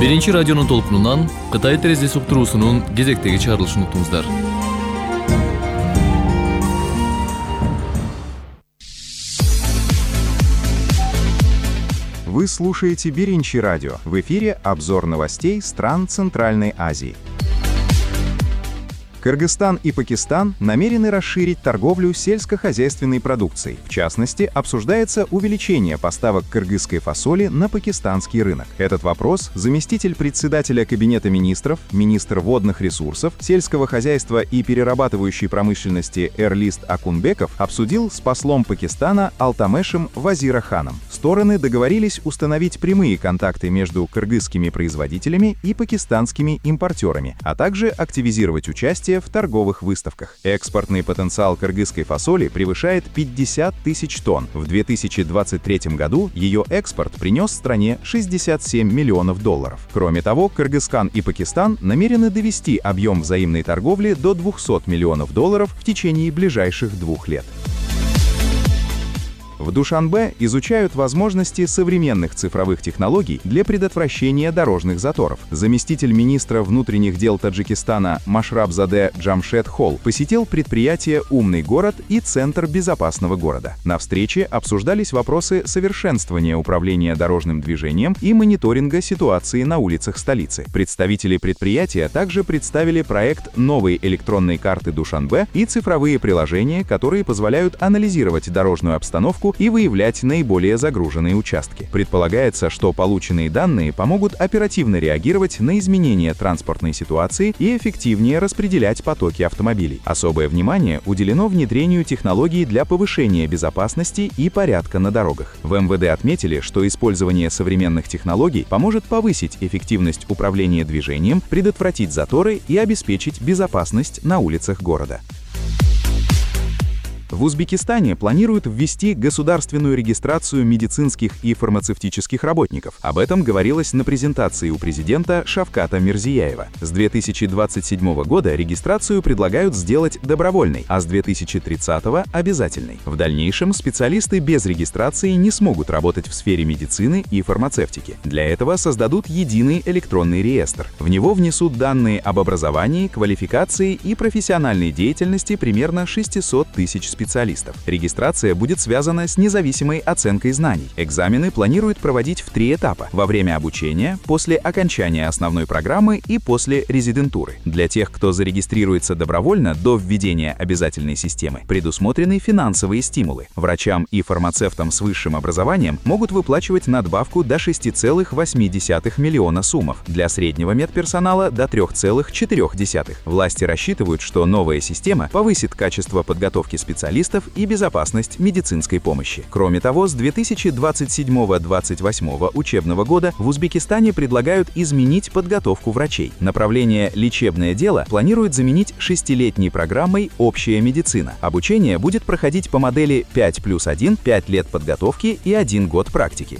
Биринчи радионун толкунунан Кытай терезеси уктуруусунун кезектеги чыгарылышын уктуңуздар. Вы слушаете Биринчи радио. В эфире обзор новостей стран Центральной Азии. Кыргызстан и Пакистан намерены расширить торговлю сельскохозяйственной продукцией. В частности, обсуждается увеличение поставок кыргызской фасоли на пакистанский рынок. Этот вопрос заместитель председателя Кабинета министров, министр водных ресурсов, сельского хозяйства и перерабатывающей промышленности Эрлист Акунбеков обсудил с послом Пакистана Алтамешем Вазираханом. Стороны договорились установить прямые контакты между кыргызскими производителями и пакистанскими импортерами, а также активизировать участие в торговых выставках. Экспортный потенциал кыргызской фасоли превышает 50 тысяч тонн. В 2023 году ее экспорт принес стране $67 миллионов. Кроме того, Кыргызстан и Пакистан намерены довести объем взаимной торговли до $200 миллионов в течение ближайших 2 лет. В Душанбе изучают возможности современных цифровых технологий для предотвращения дорожных заторов. Заместитель министра внутренних дел Таджикистана Машрабзаде Джамшед Холл посетил предприятие «Умный город» и Центр безопасного города. На встрече обсуждались вопросы совершенствования управления дорожным движением и мониторинга ситуации на улицах столицы. Представители предприятия также представили проект новой электронной карты Душанбе и цифровые приложения, которые позволяют анализировать дорожную обстановку и выявлять наиболее загруженные участки. Предполагается, что полученные данные помогут оперативно реагировать на изменения транспортной ситуации и эффективнее распределять потоки автомобилей. Особое внимание уделено внедрению технологий для повышения безопасности и порядка на дорогах. В МВД отметили, что использование современных технологий поможет повысить эффективность управления движением, предотвратить заторы и обеспечить безопасность на улицах города. В Узбекистане планируют ввести государственную регистрацию медицинских и фармацевтических работников. Об этом говорилось на презентации у президента Шавката Мирзияева. С 2027 года регистрацию предлагают сделать добровольной, а с 2030 – обязательной. В дальнейшем специалисты без регистрации не смогут работать в сфере медицины и фармацевтики. Для этого создадут единый электронный реестр. В него внесут данные об образовании, квалификации и профессиональной деятельности примерно 600 тысяч специалистов. Регистрация будет связана с независимой оценкой знаний. Экзамены планируют проводить в 3 этапа: во время обучения, после окончания основной программы и после резидентуры. Для тех, кто зарегистрируется добровольно до введения обязательной системы, предусмотрены финансовые стимулы. Врачам и фармацевтам с высшим образованием могут выплачивать надбавку до 6,8 миллиона сумов, для среднего медперсонала до 3,4. Власти рассчитывают, что новая система повысит качество подготовки специалистов и безопасность медицинской помощи. Кроме того, с 2027-2028 учебного года в Узбекистане предлагают изменить подготовку врачей. Направление «Лечебное дело» планируют заменить 6-летней программой «Общая медицина». Обучение будет проходить по модели 5+1, 5 лет подготовки и 1 год практики.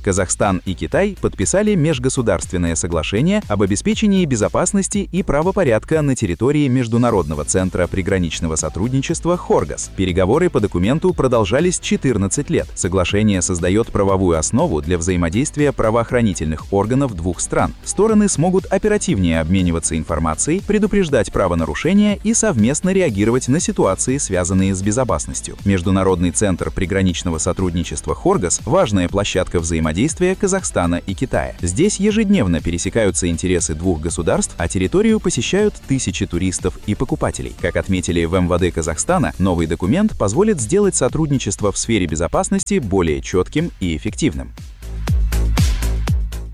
Казахстан и Китай подписали межгосударственное соглашение об обеспечении безопасности и правопорядка на территории Международного центра приграничного сотрудничества «Хоргос». Переговоры по документу продолжались 14 лет. Соглашение создает правовую основу для взаимодействия правоохранительных органов 2 стран. Стороны смогут оперативнее обмениваться информацией, предупреждать правонарушения и совместно реагировать на ситуации, связанные с безопасностью. Международный центр приграничного сотрудничества «Хоргос» – важная площадка взаимодействия Казахстана и Китая. Здесь ежедневно пересекаются интересы 2 государств, а территорию посещают тысячи туристов и покупателей. Как отметили в МВД Казахстана, новый документ позволит сделать сотрудничество в сфере безопасности более четким и эффективным.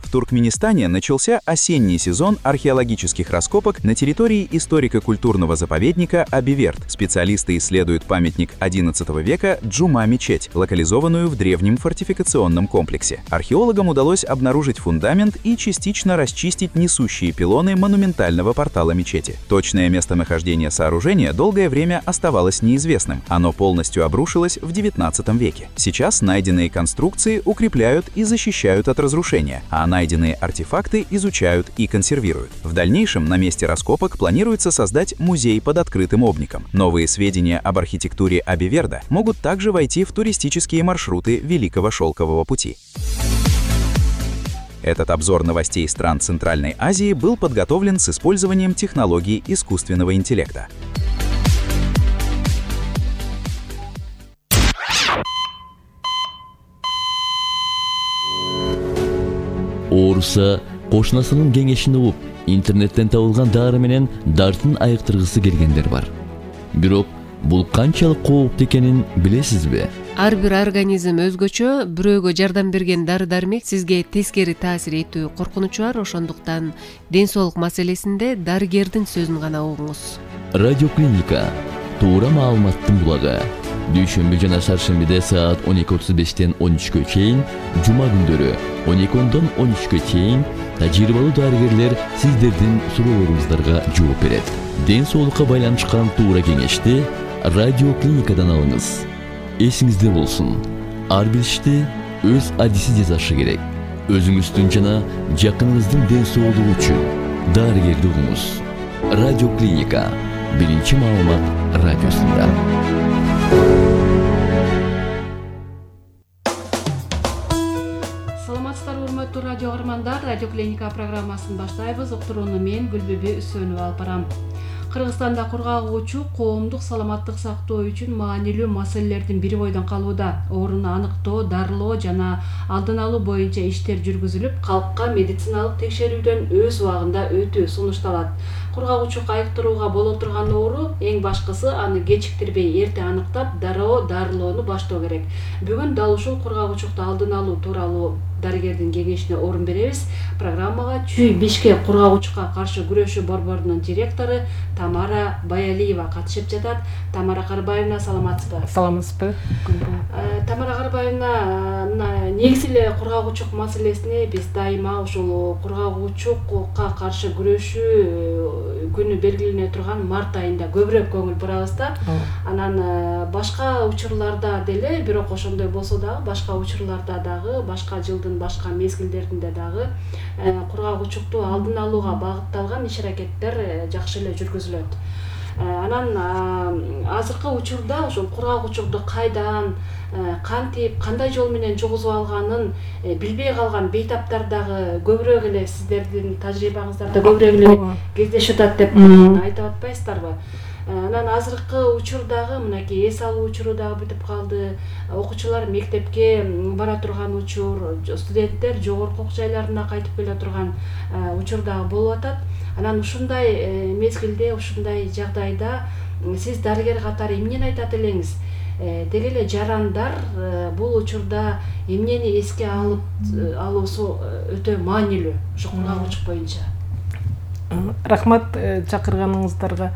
В Туркменистане начался осенний сезон археологических раскопок на территории историко-культурного заповедника Абиверт. Специалисты исследуют памятник XI века Джума-мечеть, локализованную в древнем фортификационном комплексе. Археологам удалось обнаружить фундамент и частично расчистить несущие пилоны монументального портала мечети. Точное местонахождение сооружения долгое время оставалось неизвестным. Оно полностью обрушилось в XIX веке. Сейчас найденные конструкции укрепляют и защищают от разрушения, а найденные артефакты изучают и консервируют. В дальнейшем на месте раскопок планируется создать музей под открытым обником. Новые сведения об архитектуре Абиверда могут также войти в туристические маршруты Великого Шелкового пути. Этот обзор новостей стран Центральной Азии был подготовлен с использованием технологий искусственного интеллекта. Орса кошунасынын кеңешин угуп, интернеттен табылган дары менен дартын айыктыргысы келгендер бар. Бирок бул канчалык кооптуу экенин билесизби? Ар бир организм өзгөчө, бирөөгө жардам берген дары-дармек сизге тескери таасир этүү коркунучу бар, ошондуктан ден соолук маселесинде дарыгердин сөзүн гана угуңуз. Радиоклиника туура маалыматтын булагы. Дүйшөмбү жана шаршембиде саат 12:35-тен 13-кө чейин, жума күндөрү 12-дон 13-кө чейин тажрыйбалуу дарыгерлер сиздердин суроолоруңуздарга жооп берет. Ден соолукка байланышкан туура кеңешти радиоклиникадан алыңыз. Эсиңизде болсун, ар бир ишти өз адиси жасашы керек. Өзүңүздүн жана жакыныңыздын ден соолугу үчүн дарыгерди угуңуз. Радиоклиника биринчи маалымат радиосунда. Саламатсыздарбы, урматтуу радио каармандар. Радиоклиника программасын баштайбыз. Уктурууну мен Гүлбүбү Үсөнова алып барам. Кыргызстанда кургагуучу коомдук саламаттык сактоо үчүн маанилүү маселелердин бири бойдон калууда. Ооруну аныктоо, дарылоо жана алдын алуу боюнча иштер жүргүзүлүп, калкка медициналык текшерүүдөн өз убагында өтүү сунушталат. Кургагуучулукка айыктырууга боло турган оору эң башкысы аны кечиктирбей эрте аныктап, дарылоону баштоо керек. Бүгүн дал ушул кургагуучулукту алдын алуу тууралуу дарыгердин кеңешине орун беребиз. Программага Чүй Бишкек кургагуучулукка каршы күрөшүү борборунун директору Тамара Баялиева катышып жатат. Тамара Карбаевна, саламатсызбы? Саламатсызбы. Тамара Карбаевна, негизи эле кургагуучулук маселесине биз дайыма ушул кургагуучулукка каршы күрөшүү күнү белгилене турган март айында көбүрөөк көңүл бурабыз да. Анан башка учурларда деле, бирок ошондой болсо дагы башка учурларда дагы, башка жылдын башка мезгилдеринде дагы кургагуучулукту алдын алууга багытталган иш-аракеттер жакшы эле жүргүзүлөт. Анан азыркы учурда ошол кургагуучулукту кайдан, кантип, кандай жол менен жугузуп алганын билбей калган бейтаптар дагы көбүрөөк эле сиздердин тажрыйбаңыздарда көбүрөөк эле кездешип атат деп айтып атпайсыздарбы? Анан азыркы учурдагы мынакей эс алуу учуру дагы бүтүп калды. Окуучулар мектепке бара турган учур, студенттер жогорку окуу жайларына кайтып келе турган учур дагы болуп атат. Анан ушундай мезгилде, ушундай жагдайда сиз дарыгер катары эмнени айтат элеңиз? Деги эле жарандар бул учурда эмнени эске алуусу өтө маанилүү ушул кургагуучулук боюнча? Рахмат чакырганыңыздарга.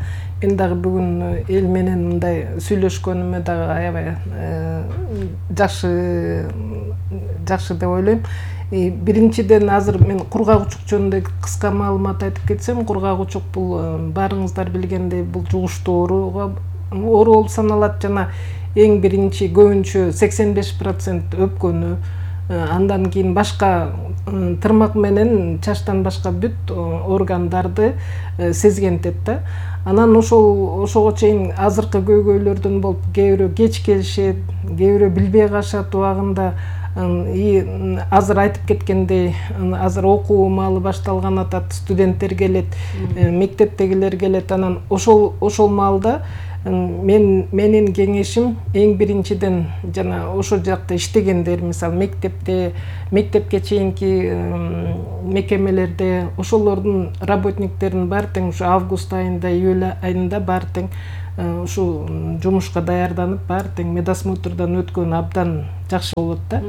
Мен дагы бүгүн эл менен мындай сүйлөшкөнүмө дагы аябай жакшы деп ойлойм. Биринчиден азыр мен кургагуучулук жөнүндө кыска маалымат айтып кетсем, кургагуучулук бул баарыңыздар билгендей бул жугуштуу оору болуп саналат жана эң биринчи көбүнчө 85% өпкөнү, андан кийин башка тырмак менен чачтан башка бүт органдарды сезгентет да. Анан ошого чейин азыркы көйгөйлөрдөн болуп, кээ бирөө кеч келишет, кээ бирөө билбей калышат убагында. Азыр айтып кеткендей, азыр окуу маалы башталган атат, студенттер келет, мектептегилер келет. Анан ошол маалда менин кеңешим эң биринчиден жана ошол жакта иштегендер, мисалы мектепке чейинки мекемелерде ошолордун работниктерин баары тең ушу август айында, июль айында баары тең ушу жумушка даярданып, баары тең медосмотрдан өткөн абдан жакшы болот да.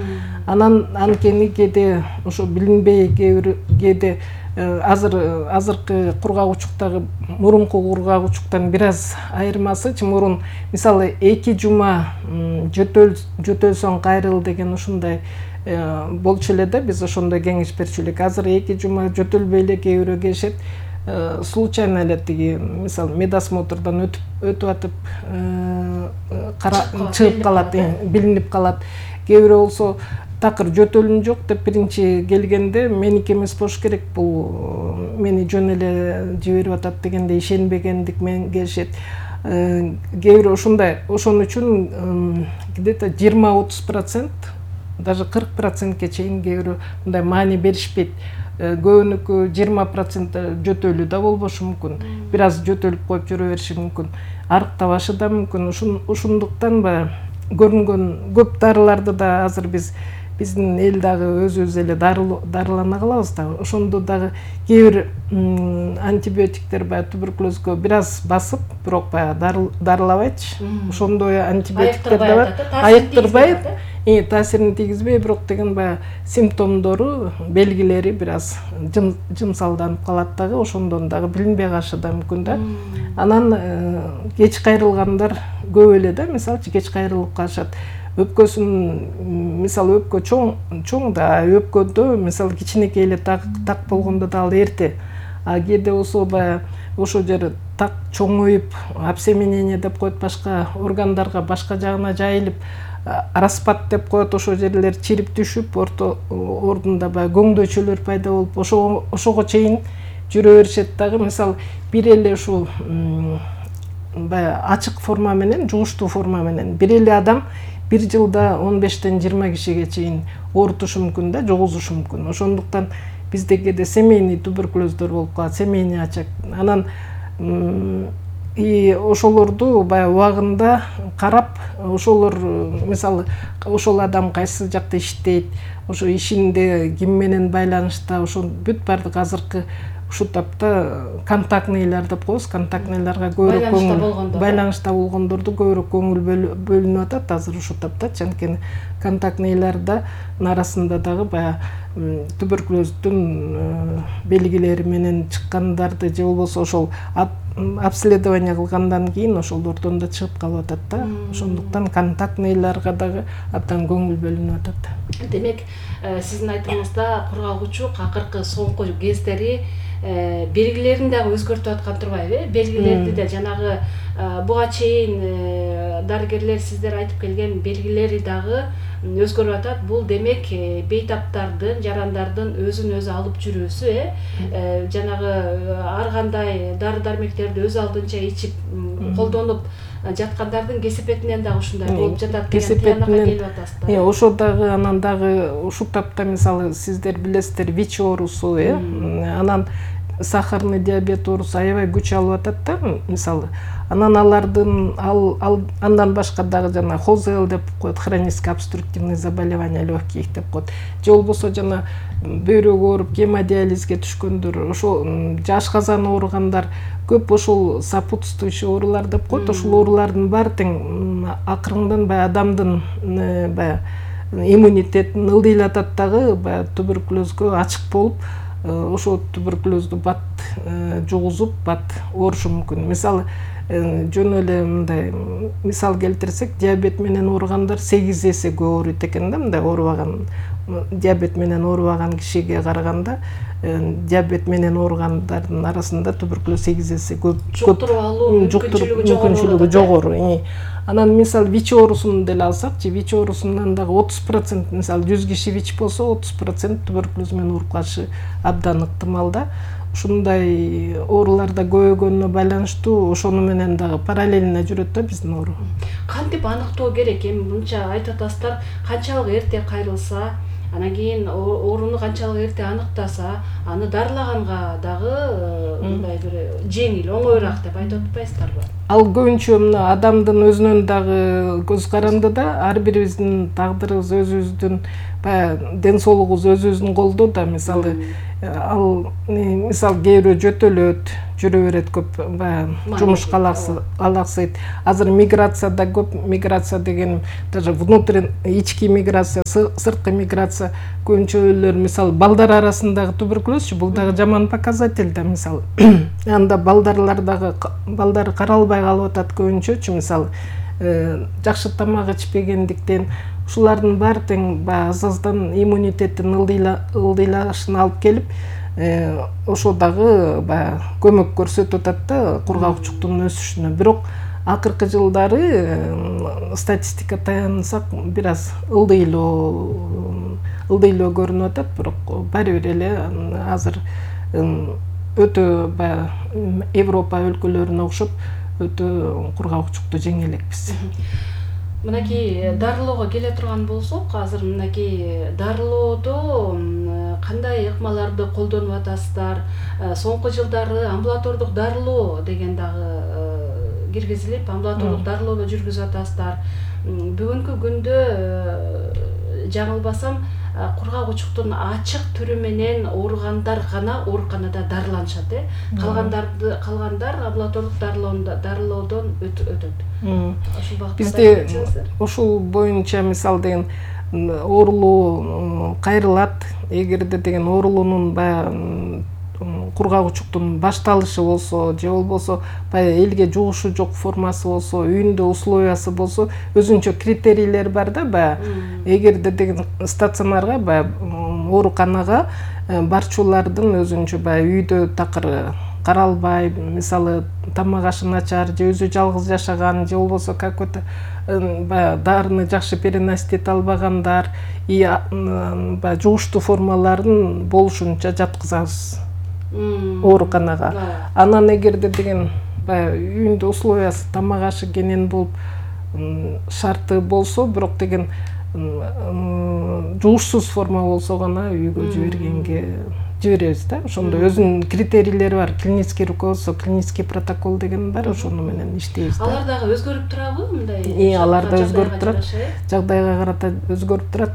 Анан анткени кээде ошо билинбей кээде азыркы кургагуучулуктагы мурунку кургагуучулуктан бир аз айырмасычы, мурун мисалы 2 жума жөтөлсөң кайрыл деген ушундай болчу эле да, биз ошондой кеңеш берчү элек. Азыр 2 жума жөтөлбөй эле кээ бирөө келишет, случайно эле тиги мисалы медосмотрдан өтүп атып чыгып калат, билинип калат. Кээ бирөө болсо такыр жөтөлүм жок деп биринчи келгенде меники эмес болуш керек, бул мени жөн эле жиберип атат дегенде ишенбегендик менен келишет. Кээ бирөө ошондой, ошон үчүн где-то 20-30% даже 40%ке чейин кээ бирөө мындай маани беришпейт. Көбүнүкү 20% жөтөлүү да болбошу мүмкүн. Бир аз жөтөлүп коюп жүрө бериши мүмкүн. Арыктабашы да мүмкүн. Ушундуктан көрүнгөн көп дарыларды да азыр биздин эл дагы өзүбүз эле дарылана калабыз да. Ошондо дагы кээ бир антибиотиктер туберкулезге бир аз басып, бирок дарылабайчы. Ошондой антибиотиктер да бар. Айыктырбайт. Таасирин тийгизбей, бирок деген симптомдору, белгилери бир аз жымсалданып калат дагы, ошондон дагы билинбей калышы да мүмкүн да. Анан кеч кайрылгандар көп эле да, мисалчы кеч кайрылып калышат. Өпкөсүн, мисалы өпкө чоң да, өпкөдө мисалы кичинекей эле так болгондо да ал эрте. А кээде болсо ошол жери так чоңоюп, обсеменение деп коет, башка органдарга, башка жагына жайылып, распад деп коет, ошол жерлер чирип түшүп, ордунда көңдөйчөлөр пайда болуп, ошого чейин жүрө беришет дагы. Мисалы бир эле ушул ачык форма менен, жугуштуу форма менен бир эле адам бир жылда 15-тен 20 кишиге чейин оорутушу мүмкүн да, жугузушу мүмкүн. Ошондуктан бизде кээде семейный туберкулездор болуп калат, семейный очаг. Анан ошолорду убагында карап, ошолор мисалы ошол адам кайсы жакта иштейт, ошо ишинде ким менен байланышта, ошо бүт бардык азыркы ушул тапта контактныйлар деп коебуз, контактныйларга көбүрөөк көңүл, байланышта болгондорду көбүрөөк көңүл бөлүнүп атат азыр ушул тапта. Анткени контактныйларда арасында дагы туберкулездин белгилери менен чыккандарды же болбосо ошол обследование кылгандан кийин ошолордон да чыгып калып атат да. Ошондуктан контактныйларга дагы абдан көңүл бөлүнүп атат. Демек, сиздин айтымыңызда кургагучу акыркы соңку кездери белгилерин дагы өзгөртүп аткан турбайбы? Белгилерди да жанагы буга чейин дарыгерлер сиздер айтып келген белгилери дагы өзгөрүп атат. Бул демек бейтаптардын, жарандардын өзүн өзү алып жүрүүсү, жанагы ар кандай дары-дармектерди өз алдынча ичип колдонуп жаткандардын кесепетинен дагы ушундай болуп жатат деген тыянакка келип атасыздар. Ошо дагы анан дагы ушул тапта мисалы сиздер билесиздер ВИЧ оорусу, анан сахарный диабет оорусу аябай күч алып атат да, мисалы. Анан андан башка дагы жана ХОЗЛ деп коет, хроническое обструктивное заболевание легких деп коет. Же болбосо жана бөйрөгү ооруп гемодиализге түшкөндөр, ошол ашказан ооругандар көп, ошол сопутствующий оорулар деп коет. Ошол оорулардын баары тең акырындан адамдын иммунитетин ылдыйлатат дагы, туберкулезгө ачык болуп, ошол туберкулезду бат жугузуп, бат оорушу мүмкүн. Мисалы жөн эле мындай мисал келтирсек, диабет менен ооругандар 8 эсе көп ооруйт экен да, мындай оорубаган, диабет менен оорубаган кишиге караганда диабет менен ооругандардын арасында туберкулез 8 эсе көп жуктуруп алуу мүмкүнчүлүгү жогору. Анан мисалы ВИЧ оорусун деле алсакчы, ВИЧ оорусунан дагы 30%, мисалы 100 киши ВИЧ болсо 30% туберкулез менен ооруп калышы абдан ыктымал да. Ушундай ооруларда көбөйгөнүнө байланыштуу ошону менен дагы параллельно жүрөт да биздин оору. Кантип аныктоо керек? Эми мынча айтып атасыздар, канчалык эрте кайрылса, анан кийин ооруну канчалык эрте аныктаса, аны дарылаганга дагы мындай бир жеңил, оңоюраак деп айтып атпайсыздарбы? Ал көбүнчө мына адамдын өзүнөн дагы көз каранды да, ар бирибиздин тагдырыбыз өзүбүздүн, ден соолугубуз өзүбүздүн колдо да. Мисалы мисалы кээ бирөө жөтөлөт, жүрө берет көп, жумушка алаксыйт. Азыр миграцияда көп, миграция деген даже ички миграция, сырткы миграция көбүнчөлөр мисалы балдар арасындагы туберкулезчү, бул дагы жаман показатель да. Мисалы анда балдар каралбай калып атат көбүнчөчү, мисалы жакшы тамак ичпегендиктен. Ушулардын баары тең азаздан иммунитеттин ылдыйлашына алып келип, ошо дагы көмөк көрсөтүп атат да кургагучтуктун өсүшүнө. Бирок акыркы жылдары статистика таянсак бир аз ылдыйлоо көрүнүп атат, бирок баары бир эле азыр өтө Европа өлкөлөрүнө окшоп өтө кургагучтукту жеңе элекпиз. Мынакей дарылоого келе турган болсок, азыр мынакей дарылоодо кандай ыкмаларды колдонуп атасыздар? Соңку жылдары амбулатордук дарылоо деген дагы киргизилип, амбулатордук дарылоодо жүргүзүп атасыздар. Бүгүнкү күндө жаңылбасам, кургак-учуктун ачык түрү менен ооругандар гана ооруканада дарыланышат, калгандар амбулатордук дарылоодон өтөт. Ушул багытта бизде ушул боюнча мисалы деген оорулуу кайрылат. Эгерде деген оорулуунун баягы кургак-учуктун башталышы болсо, же болбосо баягы элге жугушу жок формасы болсо, үйүндө условиясы болсо, өзүнчө критерийлер бар да. Баягы эгерде деген стационарга, баягы ооруканага барчулардын өзүнчө баягы үйдө такыр каралбай, мисалы тамак ашы начар, же өзү жалгыз жашаган, же болбосо какой-то баягы дарыны жакшы переносить эте албагандар, баягы жугуштуу формаларын болушунча жаткызабыз ооруканага. Анан эгерде деген баягы үйүндө условиясы тамак ашы кенен болуп шарты болсо, бирок деген жугушсуз форма болсо гана үйгө жиберебиз да. Ошондо өзүнүн критерийлери бар. Клинический руководство, клинический протокол деген бар, ошону менен иштейбиз да. Алар дагы өзгөрүп турабы мындай? Алар да өзгөрүп турат. Жагдайга карата өзгөрүп турат.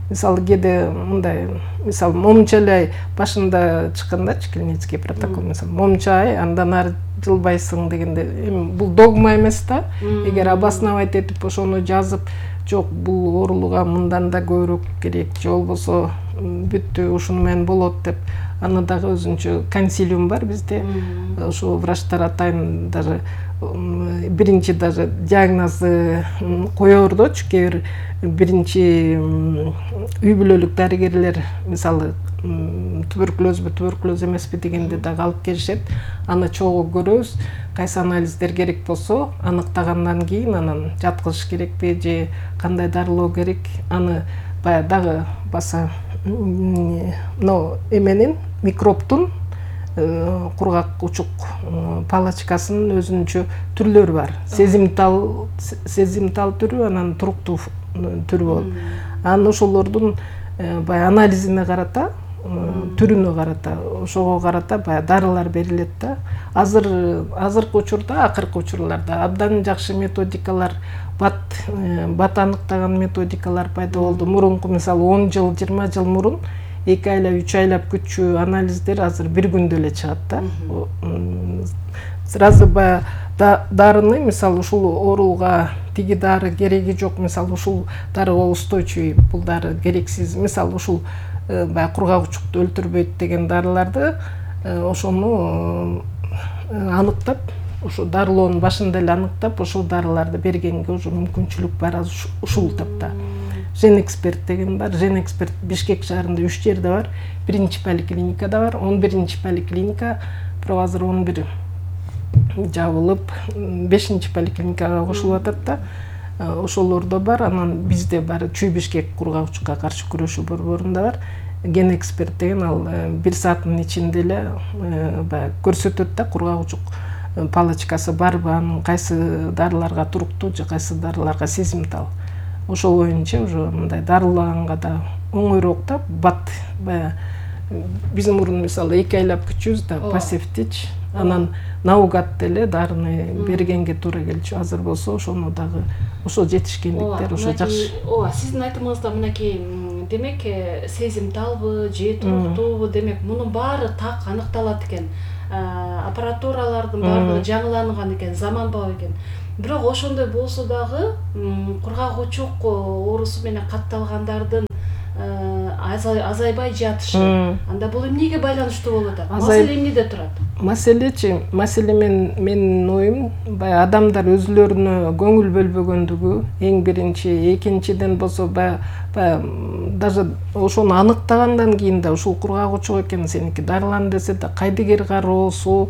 Мисалы кээде мындай, мисалы момча башында чыккандачы клинический протокол, мисалы момча андан ары жылбайсың дегенде, эми бул догма эмес да. Эгер обосновать этип ошону жазып, жок бул оорулууга мындан да көбүрөөк керек, же болбосо бүттү ушуну менен болот деп, аны дагы өзүнчө консилиум бар бизде. Ошо врачтар атайын даже биринчи даже диагнозду кое бердичи, кээ бир биринчи үй бүлөлүк дарыгерлер мисалы туберкулезбү, туберкулез эмеспи дегенде дагы алып келишет. Аны чогуу көрөбүз. Кайсы анализдер керек болсо, аныктагандан кийин анан жаткызыш керекпи же кандай дарылоо керек, аны баягы дагы баса эменин микробтун кургак-учук палочкасынын өзүнчө түрлөрү бар. Сезимтал түрү, анан туруктуу түрү болот. Анан ошолордун баягы анализине карата, түрүнө карата, ошого карата баягы дарылар берилет да. Азыркы учурда, акыркы учурларда абдан жакшы методикалар, бат аныктаган методикалар пайда болду. Мурунку мисалы 10 жыл, 20 жыл мурун 2 айлап, 3 айлап күтчү анализдер азыр бир күндө эле чыгат да. Сразу баягы дарыны мисалы ушул ооруга тиги дары кереги жок, мисалы ушул дарыга устойчивый, бул дары керексиз, мисалы ушул баягы кургак-учукту өлтүрбөйт деген дарыларды ошону аныктап, ошо дарылоонун башында эле аныктап, ошол дарыларды бергенге уже мүмкүнчүлүк бар ушул тапта. Женэксперт деген бар. Женэксперт Бишкек шаарында 3 жерде бар. Биринчи поликлиникада бар. 11-чи поликлиника бирок азыр 11 жабылып, 5-чи поликлиникага кошулуп атат да. Ошолордо бар. Анан бизде бар Чүй Бишкек кургак-учукка каршы күрөшүү борборунда бар. Генэксперт деген ал 1 сааттын ичинде эле баягы көрсөтөт да, кургак-учук палочкасы барбы, анын кайсы дарыларга туруктуу же кайсы дарыларга сезимтал. Ошол боюнча уже мындай дарылаганга да оңойроок да. Бат баягы биз мурун мисалы 2 айлап күтчүбүз да, пассивтич. Анан наугат деле дарыны бергенге туура келчү. Азыр болсо ошону дагы ошо жетишкендиктер ошо жакшы. Ооба, сиздин айтымыңызда мынакей демек сезимталбы же туруктуубу, демек мунун баары так аныкталат экен. Аппаратуралардын баардыгы жаңыланган экен, заманбап экен. Бирок ошондой болсо дагы кургак-учук оорусу менен катталгандардын азайбай жатышы. Анда бул эмнеге байланыштуу болуп атат? Маселе эмнеде турат? Маселе менин оюм баягы адамдар өзүлөрүнө көңүл бөлбөгөндүгү эң биринчи, экинчиден болсо баягы даже ошону аныктагандан кийин да ушул кургак-учук экен, сеники дарылан десе да кайдыгер кароосу,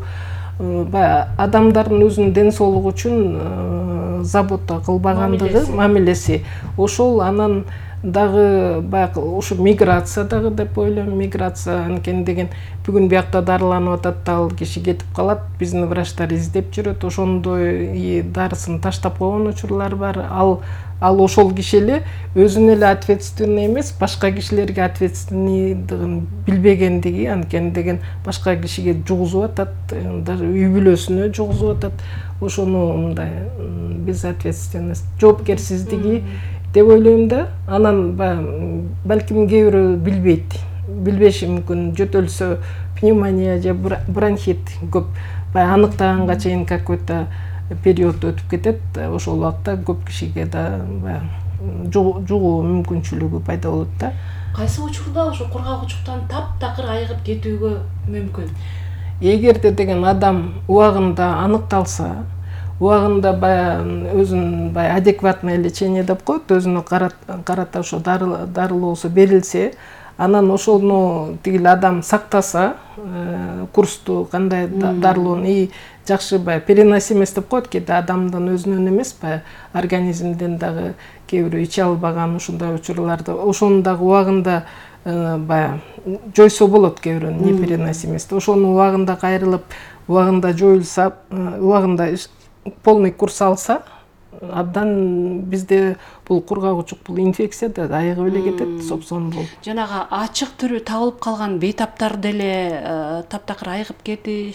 баягы адамдардын өзүнүн ден соолугу үчүн забота кылбагандыгы, мамилеси. Ошол анан дагы баягы ушу миграция дагы деп ойлойм. Миграция анткени деген бүгүн биякта дарыланып атат да, ал киши кетип калат, биздин врачтар издеп жүрөт, ошондой дарысын таштап койгон учурлар бар. Ал ал ошол киши эле өзүнө эле ответственный эмес, башка кишилерге ответственныйдыгын билбегендиги, анткени деген башка кишиге жугузуп атат, даже үй бүлөсүнө жугузуп атат. Ошону мындай безответственность, жоопкерсиздиги деп ойлойм да. Анан балким кээ бирөө билбеши мүмкүн, жөтөлсө пневмония же бронхит көп аныктаганга чейин какой-то период өтүп кетет. Ошол убакта көп кишиге да жугуу мүмкүнчүлүгү пайда болот да. Кайсы учурда ошо кургагучтуктан таптакыр айыгып кетүүгө мүмкүн? Эгерде деген адам убагында аныкталса, убагында өзүн адекватное лечение деп коет, өзүнө карата ошо дарылоосу берилсе, анан ошону тигил адам сактаса, курсту кандай дарылоону и жакшы переносимость деп коет, кээде адамдын өзүнөн эмес, организмден дагы кээ бирөө иче албаган ушундай учурларда ошону дагы убагында жойсо болот, кээ бирөөнүн непереносимости. Ошону убагында кайрылып, убагында жоюлса, убагында полный курс алса, абдан бизде бул кургагучук, бул инфекция да айыгып эле кетет, собсон бул. Жанагы ачык түрү табылып калган бейтаптар деле таптакыр айыгып кетеби?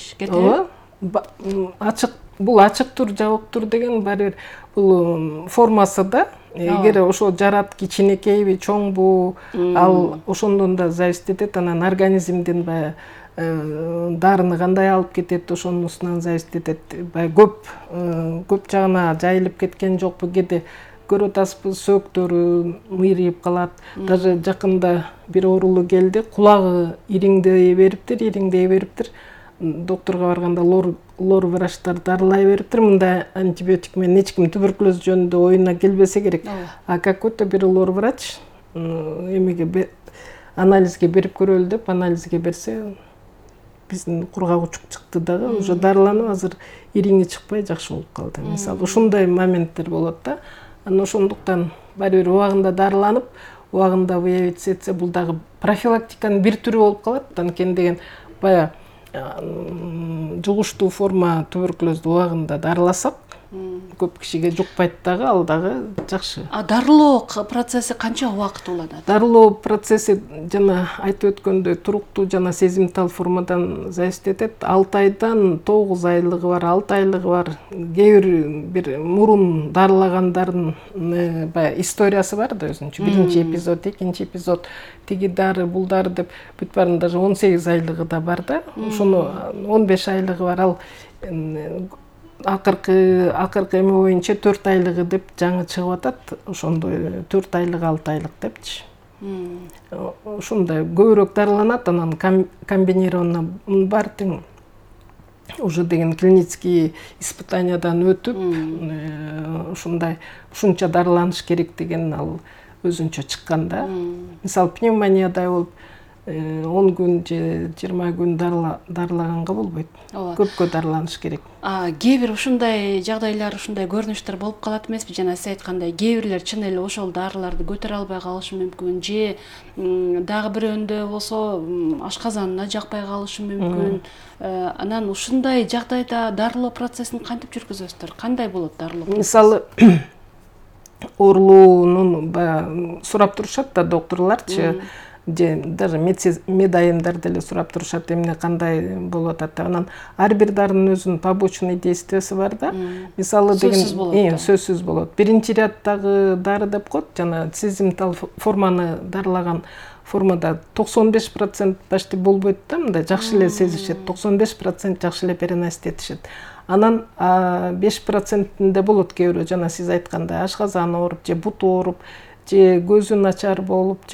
Бул ачык тур, жабык тур деген баары бир бул формасы да. Эгер ошо жарат кичинекейби, чоңбу, ал ошондон да зависит этет. Анан организмдин дарыны кандай алып кетет, ошонусунан зависит этет. Көп жагына жайылып кеткен жокпу, кээде көрүп атасызбы, сөөктөрү мыйрыйып калат. Даже жакында бир оорулуу келди, кулагы ириңдей бериптир. Докторго барганда лор врачтар дарылай бериптир. Мындай антибиотик менен эч ким туберкулез жөнүндө оюна келбесе керек. А какой-то бир лор врач эмеге анализге берип көрөлү деп анализге берсе, биздин кургагучук чыкты дагы, уже дарыланып, азыр ириңи чыкпай жакшы болуп калды. Мисалы, ушундай моменттер болот да. Анан ошондуктан баары бир убагында дарыланып, убагында выявить этсе, бул дагы профилактиканын бир түрү болуп калат. Анткени деген жугуштуу форма туберкулезду убагында дарыласак, көп кишиге жукпайт дагы, ал дагы жакшы. Дарылоо процесси канча убакыт уланат? Дарылоо процесси жана айтып өткөндөй туруктуу жана сезимтал формадан зависит этет. 6 айдан 9 айлыгы бар, 6 айлыгы бар. Кээ бир мурун дарылагандардын историясы бар да өзүнчө. Биринчи эпизод, экинчи эпизод, тиги дары, бул дары деп бүт барын даже 18 айлыгы да бар да. Ошону 15 айлыгы бар, ал акыркы эме боюнча 4 айлыгы деп жаңы чыгып атат. Ошондой 4 айлык, 6 айлык депчи. Ошондой көбүрөөк дарыланат, анан комбинированно бар тең уже деген клинический испытаниядан өтүп, ушунча дарыланыш керек деген ал өзүнчө чыккан да. Мисалы, пневмониядай болуп 10 күн же 20 күн дарылаганга болбойт. Көпкө дарыланыш керек. Кээ бир ушундай жагдайлар, ушундай көрүнүштөр болуп калат эмеспи? Жана сиз айткандай, кээ бирлер чын эле ошол дарыларды көтөрө албай калышы мүмкүн, же дагы бирөөндө болсо ашказанына жакпай калышы мүмкүн. Анан ушундай жагдайда дарылоо процессин кантип жүргүзөсүздөр? Кандай болот дарылоо? Мисалы, оорулуунун сурап турушат да докторлорчу, же даже медайымдар деле сурап турушат, эмне кандай болуп атат деп. Анан ар бир дарынын өзүнүн побочный действиясы бар да. Мисалы деген сөзсүз болот. Биринчи ряддагы дары деп коет, жана сезимтал форманы дарылаган формада 95% почти болбойт да, мындай жакшы эле сезишет, 95% жакшы эле переносить этишет. Анан 5%-инде болот кээ бирөө, жана сиз айткандай ашказаны ооруп, же буту ооруп, же көзү начар болуп, же